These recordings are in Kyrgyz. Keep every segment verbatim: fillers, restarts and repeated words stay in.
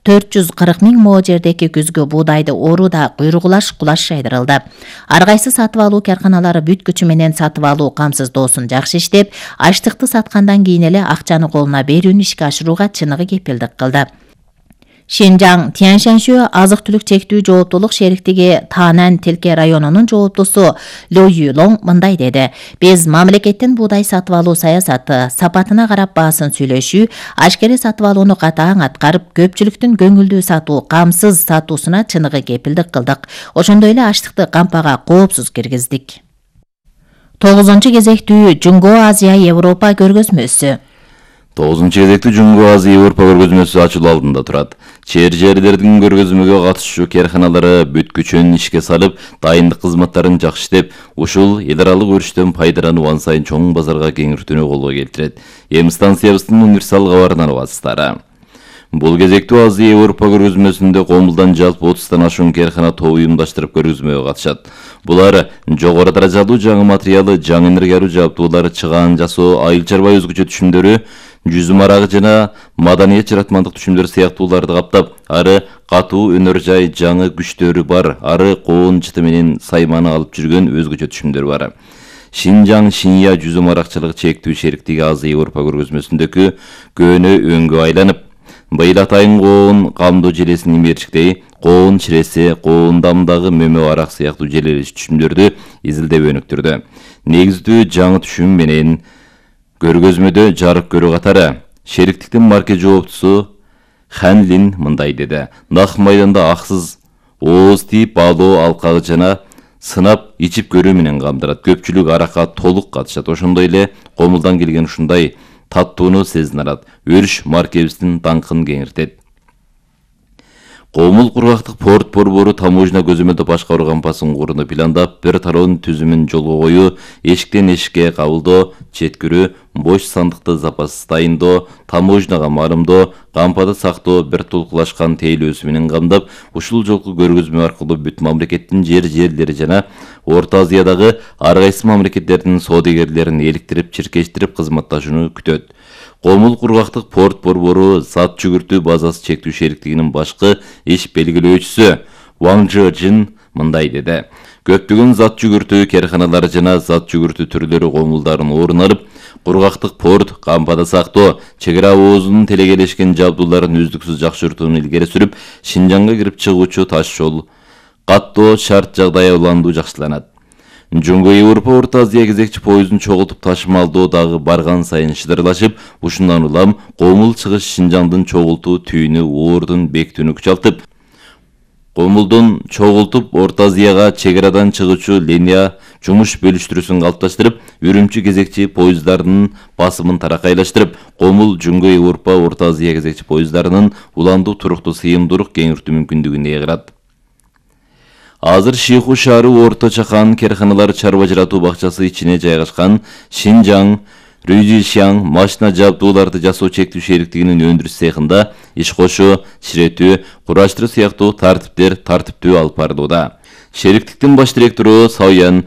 төрт жүз кырк миң мо жердеки күзгү буудайды ооруда куйругулаш кулаш жайдырылды. Ар кайсы сатып алуу карканалары бүт күчү менен сатып алуу камсыздоосун жакшы иштеп, аштыкты саткандан кийин эле акчаны колуна берүүнү ишке ашырууга чыныгы кепилдик кылды. Шинжаң Тяньшаньшө азык-түлүк чектүү жооптулук шериктиги Танан Тилке районунун жооптусу Ло Юлонг мындай деди: "Биз мамлекеттин буудай сатып алуу саясаты, сапатына карап баасын сүйлөшүү, ашкере сатып алууну катаң аткарып, көпчүлүктүн көңүлдүү сатуу, камсыз сатуусуна чыныгы кепилдик кылдык. Ошондой эле аштыкты кампага коопсуз киргиздик." тогузунчу кезектүү Жунгоо Азия Европа көргөзмөсү. тогузунчу кезектүү Жунгоо Азия Европа көргөзмөсү ачылуу алдында турат. Чер жерлердин көргөзмөгө катышуучу карканалары бүт күчүн ишке салып, дайындык кызматтарын жакшы иштеп, ушул эл аралык өрүштөн пайдалануу ан сайын чоң базарга кеңиртүүнү колго келтирет. Эми станциябыздын универсал кабарынан угасыздар. Бул кезектүү Азия Европа көргөзмөсүндө Комулдан жалпы отуздан ашуун каркана топ уюмдаштырып көргөзмөгө катышат. Булар жогору даражалуу жаңы материалы, жаңы энергиялуу жабдуулар, чыгаан жасоо, айыл чарба өзгөчө түшүмдөрү, жүзүм арагы жана маданият жаратмандык түшүмдөр сыяктууларды каптап, ары катуу өнөр жай жаңы күчтөрү бар, ары коон жыты менен сайманы алып жүргөн өзгөчө түшүмдөр бар. Шинжаң Шинья жүзүм аракчылык чектүү шериктиги Азия Европа көргөзмөсүндөгү көөнө өңгө айланып, быйыл атайын коон камдоо желесин имерчиктей, коон чиресе, коон дамдагы мөмө арак сыяктуу желелеш түшүмдөрдү изилдеп өнүктүрдү. Негиздүү жаңы түшүм менен көргөзмөдө жарык көрүү катары шериктиктин марке жооптусу Хан Лин мындай деди: "Нак майданда аксыз ооз тийип баалоо алкагы жана сынап ичип көрүү менен камдырат. Көпчүлүк аракка толук катышат. Ошондой эле Комулдан келген ушундай таттууну сезин алат. Өрүш маркебиздин даңкын кеңиртет." Комул кургактык порт борбору таможня көзөмөлдөө башкаруу кампасын курууну пландап, бир тароонун түзүмүн жолго коюу, эшиктен эшикке кабылдоо, четкирүү, бош сандыкты запассыз дайындоо, таможняга марымдоо, кампада сактоо, бир толкулашкан тейлөөсү менен камдап, ушул жолку көргөзмө аркылуу бүт мамлекеттин жер жерлери жана Орто Азиядагы ар кайсы мамлекеттердин соодагерлерин эликтирип, чиркештирип кызматташууну күтөт. Комул кургактык порт борбору зат жүгүртүү базасы чектүү шериктигинин башкы иш белгилөөчүсү Ван Жин мындай деди: "Көптөгөн зат жүгүртүү карканалары жана зат жүгүртүү түрлөрү Комулдарын орун алып, кургактык порт, кампада сактоо, чек ара оозунун телегелешкен жабдууларын үздүксүз жакшыртууну илгери сүрүп, Шинжаңга кирип чыгуучу таш жол каттоо шарт жагдай уландуу жакшыланат. Жунгоо Европа Орто Азия кезекчи поездун чогултуп ташымалдоо дагы барган сайын шыдырлашып, ушундан улам Комул чыгыш Шинжаңдын чогултуу түйүнү оордун бекитүүнү күчалтып, Комулдун чогултуп Орто Азияга чек арадан чыгуучу линия жумуш бөлүштүрүүсүн калыпташтырып, үрүмчү кезекчи поезддарынын басымын таракайлаштырып, Комул Жунгоо Европа Орто Азия кезекчи поезддарынын уландуу туруктуу сыйымдуулук кеңиртүү мүмкүндүгүн ээ кылат. Азыр Шиху шаары Орто Чакан карканалар чарба жаратуу бакчасы ичине жайгашкан Шинжаң Рюзишяң машина жабдууларды жасоо чектүү шериктигинин өндүрүш цехинда иш кошуу, чиретүү, кураштыруу сыяктуу тартиптер тартиптүү алып барылууда. Шериктиктин баш директору Сауян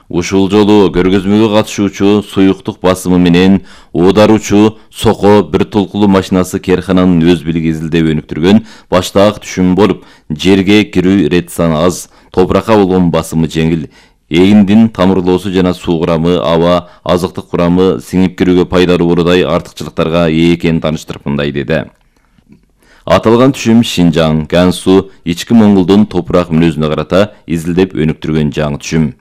ушул жолу көргөзмөгө катышуучу суюктук басымы менен оодаруучу Соко бир толкулуу машинасы каркананын өз билиги изилдеп өнүктүргөн баштаак түшүм болуп, жерге кирүү ирет саны аз, топуракка болгон басымы жеңил, эгиндин тамырлоосу жана суу курамы, аба, азыктык курамы сиңип кирүүгө пайдалуу болуудай артыкчылыктарга ээ экенин тааныштырып мындай деди: "Аталган түшүм Шинжаң, Гансу, ички Моңголдун топурак мүнөзүнө карата изилдеп өнүктүргөн жаңы түшүм.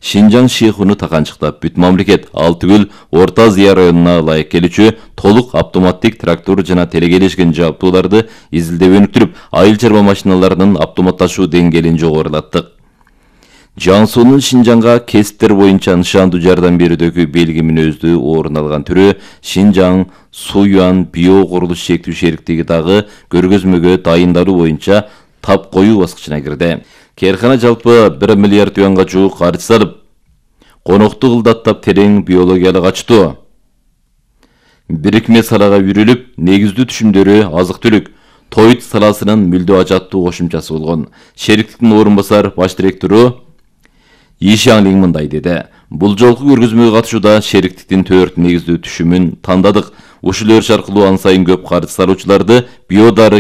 Шинжаң Шихуну таканчыктап, бүт мамлекет, ал түгүл Орто Азия районуна ылайык келүүчү толук автоматтик трактор жана телегелешкен жабдууларды изилдеп өнүктүрүп, айыл чарба машиналарынын автоматташуу деңгээлин жогорулаттык. Жансуунун Шинжаңга кесиптер боюнча нышандуу жардам берүүдөгү белги мүнөздүү орун алган түрү Шинжаң Суюан био курулуш чектүү шериктиги дагы көргөзмөгө дайындалуу боюнча тап коюу баскычына кирди. Каркана жалпы бир миллиард юанга жуук каржы салып, конокту кылдаттап терең биологиялык ачтуу бирикме салага үйрүлүп, негиздүү түшүмдөрү азык-түлүк, тоют саласынын мүлдө ажаттуу кошумчасы болгон. Шериктиктин орун басар баш директору Ишаңлин мындай деди: "Бул жолку көргөзмөгө катышууда шериктиктин төрт негиздүү түшүмүн тандадык. Ушул өрүш аркылуу ан сайын көп каржы салуучуларды биодары